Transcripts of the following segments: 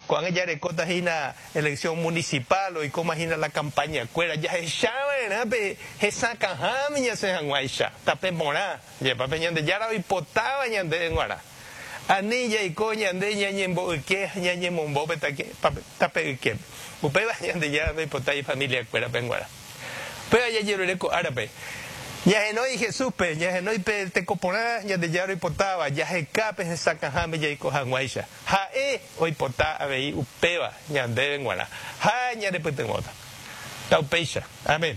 Ko'ág̃a jarekóta hína elección municipal, oikóma hína la campaña kuéra, jahecha va'erã pe hesakãháme ñasẽ hag̃uáicha, tape porã, jepa pe Ñandejára oipotáva ñandéve g̃uarã. Ani jaiko ñande ñañembo'yke ha ñañemombo pe tape yképe. Upéva Ñandejára ndoipotái ifamilia kuérape g̃uarã. Upéva jajerure ko árape. Ñahenói Jesúspe, ñahenói pe teko porã Ñandejára oipotáva, jaheka pe hesakãháme jaiko hag̃uáicha. Ha'e oipota avei upéva ñandéve g̃uarã ha ñanepytyvõta. Taupéicha. Amén.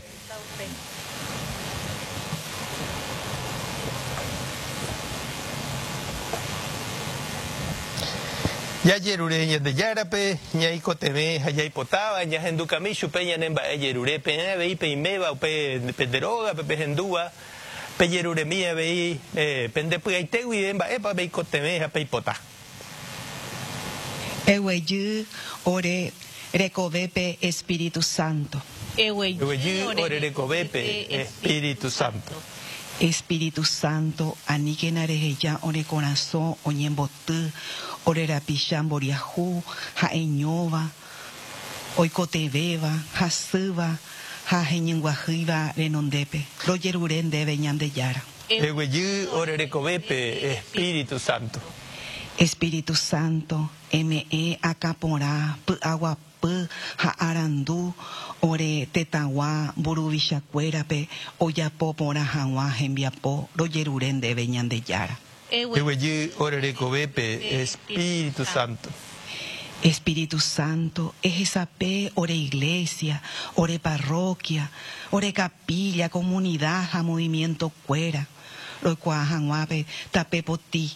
Jajerure Ñandejárape ñaikotevẽ ha jaipotáva, ñahendukami chupe ñane mba'e jerure. Peẽ avei peiméva upe pende rógape pehendúva, pejeruremi avei pende py'aite guive mba'épa peikotevẽ ha peipota. Eguejy ore rekovépe Espíritu Santo. Eguejy ore rekovépe Espíritu Santo. Espíritu Santo, aníkena reheja ore korasõ oñemboty ore rapicha mboriahu ha'eñóva, oikotevẽva, hasýva ha heñynguahýiva renondépe. Rojerure ndéve Ñandejára. Eguejy ore rekovépe Espíritu Santo. Espíritu Santo, eme'ẽ akã porã, py'aguapy ha arandu ore tetãgua mburuvichakuérape ojapo porã hag̃ua hembiapo rojerure ndéve Ñandejára. Eguejy ore rekovépe Espíritu Santo. Espíritu Santo, ehesape ore iglesia, ore parroquia, ore capilla, comunidad ha movimiento-kuéra, roikuaa hag̃ua pe tape potĩ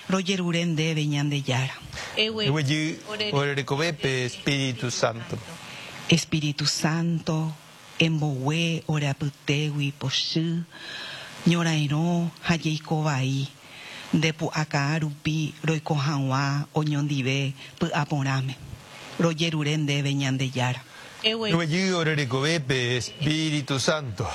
rojerure ndéve Ñandejára. Eguejy ore rekovépe Espíritu Santo. Espíritu Santo, embogue ore apytégui pochy, ñorairõ ha jeiko vai, nde pu'akaa rupi roiko hag̃ua oñondive py'aporãme. Rojerure ndéve Ñandejára. Eguejy ore rekovépe, Espíritu Santo.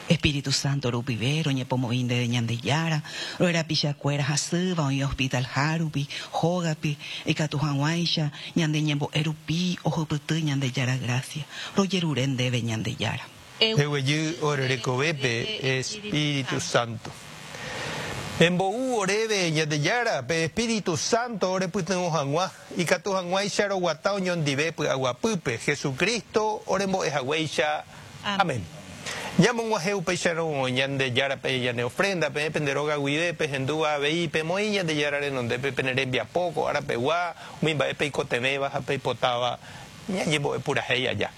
Espíritu Santo rupive roñepomoĩ ndéve Ñandejára, ore rapichakuéra hasýva oĩ hospital-ha rupi, hógape, ikatu hag̃uáicha ñande ñembo'e rupi ohupyty Ñandejára grásia. Rojerure ndéve Ñandejára. Eguejy ore rekovépe, Espíritu Santo. Embou oréve, Ñandejára, pe Espíritu Santo orepytyvõ hag̃ua, ikatu hag̃uáicha roguata oñondive py'aguapýpe, Jesucristo orembo'e haguéicha. Amén. Ñamog̃uahẽ upéicharõ Ñandejárape ñane ofrenda, peẽ pende róga guive pehendúva avei, pemoĩ Ñandejára renondépe pene rembiapo ko ára pegua, umi mba'e peikotevẽva ha peipotáva ñañembo'e purahéi aja.